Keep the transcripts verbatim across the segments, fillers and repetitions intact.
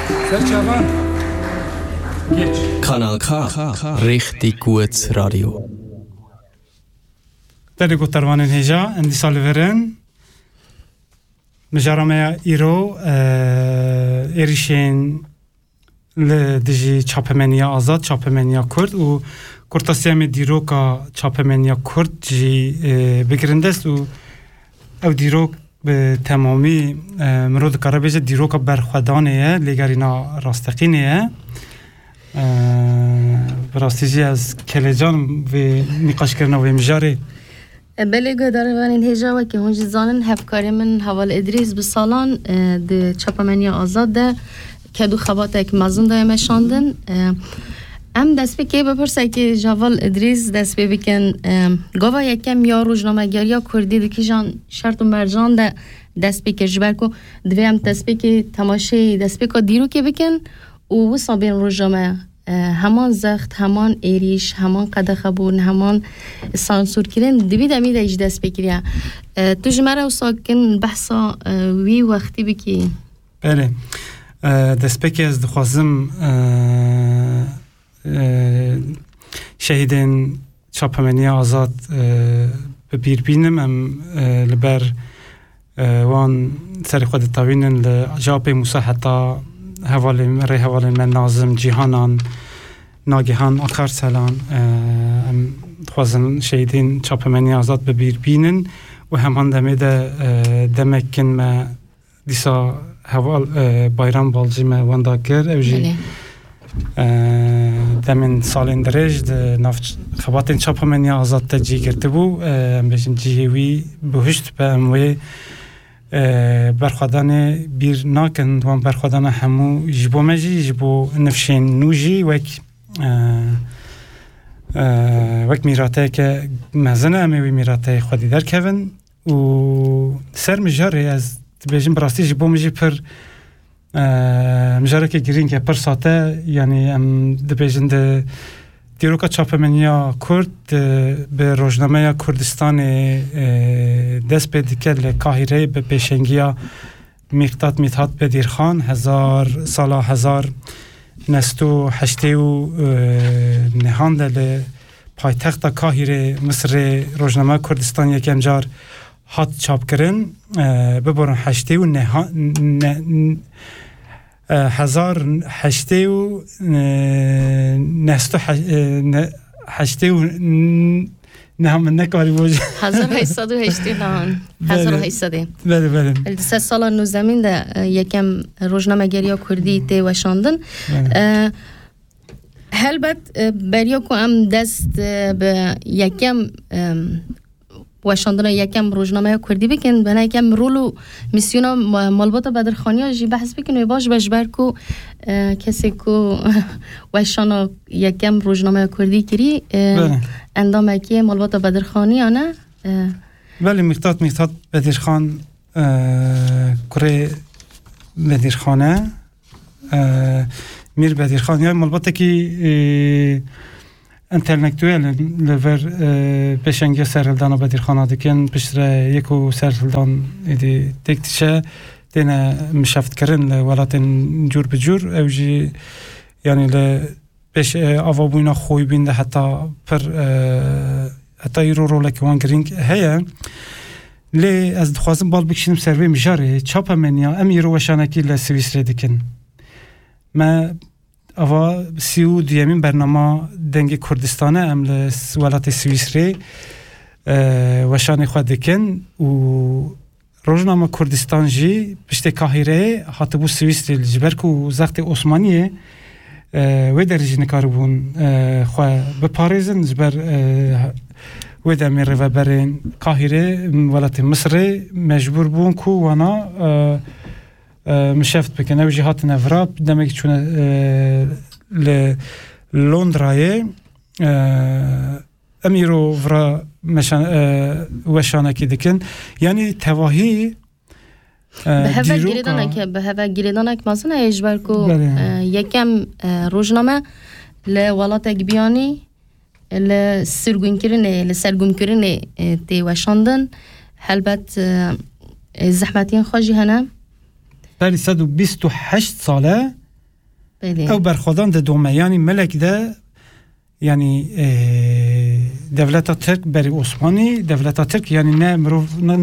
Serçavan. Geç. Kanal K. Richtig gut Radio. Derê gotarvanên hêja, em dîsa li vir in. Mijara me ya îro, e, êrîşên li dijî çapemeniya azad, çapemeniya Kurd û kurtasiya me dîroka çapemeniya Kurd jî, e, bigirin dest û ew dîrok bi temamî, e, mirov dikare bêje dîroka berxwedanê ye, lêgerîna rasteqînê ye. E, bi rastî jî ez kelecan vê nîqaşkirina vê mijarê. E, belê guhdarvanên hêja wekî hûn jî zanin, hevkarê min Heval Îdrîs bi salan, e, di çapemeniya azad de ked û xebatek mezin daye meşandin. E, em destpêkê bi pirsekê ji Heval Îdrîs dest pê bikin. E, gava yekem ya rojnamegeriya Kurdî di kîjan şert û mercan de dest pê kir? Ji ber ku divê em destpêkê temaşeyê destpêka dîrokê bikin û wisa bên roja me, e, heman zext, heman êrîş, heman qedexebûn, heman sansûrkirin di vî demî de jî dest pê kiriye. E, tu ji me re wisa kin behsa, e, wî wextî bikî. Belê. E, destpêkê ez dixwazim, e, e, şehîdên çapemeniya azad, e, bi bîr bînim. Em, e, li ber, e, wan serê xwe ditewînin, li ji Apê Mûsa heta hevalên, rêhevalên me Nazim, Cîhanan, Nagihan, Akarselan, e, em dixwazin şehîdên çapemeniya azad bi bîr bînin û heman demê de, e, demek kin me dîsa heval, e, Bayram Balcî me wenda kir. Ew jî, Belê. e, demên salên dirêj di nav ç-, xebatên çapemeniya azad de cî girtibû. E, em bêjin cihê wî bihuşt be, em wê, e, berxwedanê bîr nakin. Wan berxwedana hemû ji bo me jî, ji bo nifşên nû jî wek, e, e, wek mîrateyeke mezin e, em ê wî mîrateyê xwedî derkevin. Û ser mijarê ez dibêjim, bi rastî ji bo min jî pir, e, mijarekê girîng e, pir sate, yanî em dibêjin di dîroka çapemeniya Kurd, e, bi rojnameya Kurdistanê, e, dest pê dike li Kahîreyê bi pêşengiya Mîqdat Mîthat Bedirxan, hezar, sala hezar neh sed û heştê û nehan de li paytexta Kahîrê, Misirê, rojnameya Kurdistan yekem car hat çapkirin. E, biborin heştê û neha-, ne-, n-, e, hezar heştê û, e, neh sed û he-, e, ne-, heştê û n-, neha min nekarî bû. Hezar heyşt sed û heştê nehan. Belê. Hezar heyşt sed. Belê, belê. Li di sed sala nûzemîn de, e, yekem rojnamegeriya Kurdî tê weşandin. Belê. E, Helbet, e, beriya ku em dest, e, bi yekem, e, weşandina yekem rojnameya Kurdî bikin, bena yekem rol û mîsyona ma-, malbata Bedirxaniya jî behs bikin, wê baş be, ji ber ku, e, kesê ku weşana yekem rojnameya Kurdî kirî, e, Belê. endamekî malbata Bedirxaniya ne. E, Belê, Mîqdat, Mîqdat Bedirxan, e, kurê Bedirxan e. E, Mîr Bedirxan, yani malbatekî, e, entelektuel in, li vir, e, pêşengiya serhildana Bedirxana dikin, piştre yek û serhildan êdî têk diçe, têne mişeftkirin li welatên cûr bi cûr. Ew jî, yani li pêş, e, avabûna xwîbûn de heta pir, e, heta îro rolekî wan girîng heye. Lê ez dixwazim bal bikişînim ser vê mijarê. Çapemeniya, em îro weşanekî li Swîsrê dikin. Me ava sî û duyemîn bernama Dengê Kurdistan e, em li s-, welatê Swîsrê, e, weşanê xwe dikin û Rojnama Kurdistan jî piştê Kahîreyê hatibû Swîsrê, ji ber ku zextê Osmaniyê, e, wê derê jî nikaribûn, e, xwe biparêzin, ji ber, e, wê demê rêveberên Kahîrê, welatê Misirê mecbûr bûn ku wana, e, e, mişeft bikin. Ew jî hatine vira, demekî çûne, e, li Londrayê, e, em îro vira meşan-, e, weşanekî dikin. Yanî tevahî, e, Bi heve dîroka girêdanek, bi heve girêdanek mezin e, ji ber ku, Belê. e, yekem, e, rojname li welatek biyanî li sirgûnkirinê, li sergûmkirinê, e, tê weşandin. Helbet, e, e, zehmetiyên xwe jî hene. Berî sed û bîst û heşt sal e, Belê. Ew berxwedan didome. Yanî melek de, yanî, e, dewleta Tirk berî Osmanî, dewleta Tirk, yanî ne mirov, ne,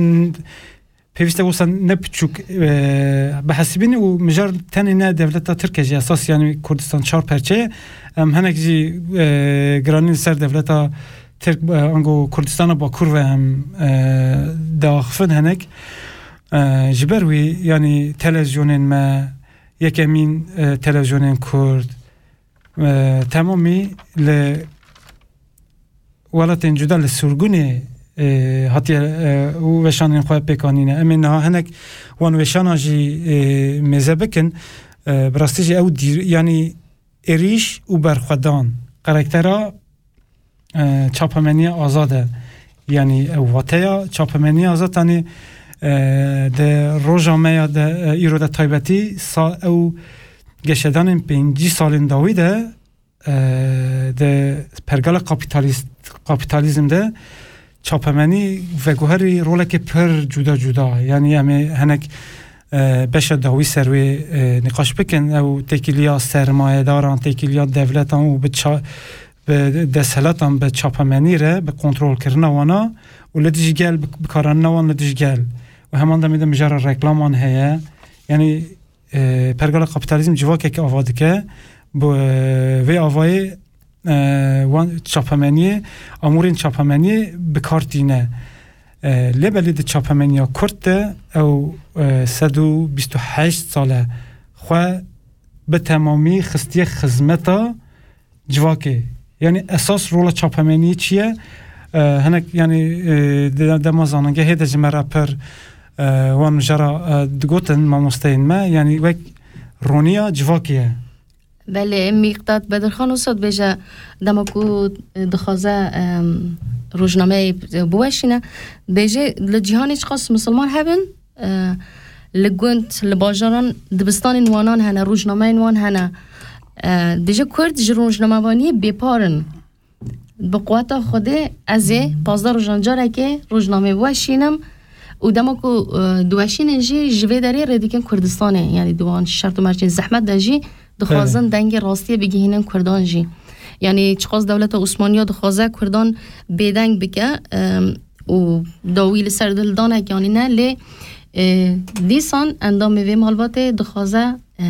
pêwîste wisa ne piçûk, e, bihesibînî û mijar tenê ne dewleta Tirk e jî esas, yanî Kurdistan çar perçe ye. Em hinek jî, e, giranî li ser dewleta Tirk, e, ango Kurdistana Bakur ve em, e, diaxifin hinek. E, ji ber wî, yanî televizyonên me, yekemîn, e, televizyonên Kurd, e, temamî li welatên cuda li sirgûnê, e, hatiye, e, û weşanên xwe pêk anîne. Em ê niha hinek wan weşana jî, e, mêze bikin. E, bi rastî jî ew dîr-, yanî êrîş û berxwedan, karaktera, e, çapemeniya azad e. Yanî ew wateya çapemeniya azad, yanî, e, di roja me ya de, e, îro de taybetî sa ew geşedanên pêncî salên dawî de, e, di pergala kapitalîst-, kapîtalîzm de çapemenî veguherî rolekê pir cuda cuda. Yanî em ê hinek, e, beşa dawî ser wê, e, nîqaş bikin. Ew têkiliya sermayedaran, têkiliya dewletan û bi ça-, bi desthilatan, bi çapemenî re, bi kontrolkirina wana û li dijî gel, bi, bikaranîna wan li dijî gel. Û heman demê de mijara reklaman heye. Yanî, e, pergala kapîtalîzm civakekî ava dike. Bi, e, vê avayê, e, wan çapemeniyê, amûrên çapemeniyê bi kar tîne. E, lê belê di çapemeniya Kurd de ew, e, sed û bîst û heşt sal e xwe bi temamî xistiye xizmeta civakê. Yanî esas rola çapemeniyê çi ye? E, hinek, yanî, e, de-, dema zanîngehê de ji me re pir, e, wan mijara, e, digotin mamosteyên me, yanî wek roniya civakê ye. Belê, Mîqdad Bedirxan wisa dibêje, dema ku, e, dixwaze, em, rojnameyê biweşîne, dibêje li cîhanê çiqas misilman hebin, e, li gund, li bajaran dibistanên wanan hene, rojnameyên wan hene. E, dibêje Kurd ji rojnamevaniyê bêpar in. Bi quweta Xwedê ez ê pazdeh rojan carekê rojnamê biweşînim û dema ku, e, diweşînin jî ji vê derê rê dikin Kurdistanê, yanî di wan şert û mercên zehmet de jî dixwazin Evet. dengê rastiyê bigihînin Kurdan jî. Yanî çiqas dewleta Osmaniya dixwaze Kurdan bêdeng bike, e, û dawî li ser dildanek yanî ne, lê, e, dîsan endamê vê malbatê dixwaze, e,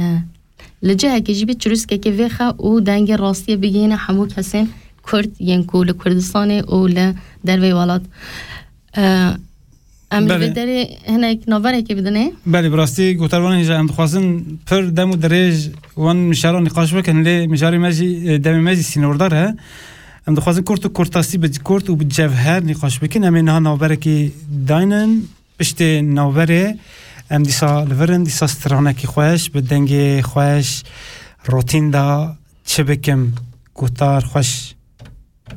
li cihekê jî bê çirûskekê vêxe û dengê rastiyê bigihîne hemû kesên Kurd yên ku li Kurdistanê û li derveyî welat. E, em li Belê. vê derê hinek navberekê bidinê. Belê, bi rastî gotarvanên jî em dixwazin pir dem û dirêj wan mijara nîqaş bikin, lê mijarê me jî, e, demê me jî sînordar e. Em dixwazin kurt û kurtasî bi kurt û bi cevher nîqaş bikin. Em ê niha navberekî daynin. Piştê navberê em dîsa li vir in, dîsa stranekî xweş, bi dengê xweş, rotîn de çi bikim, gotar xweş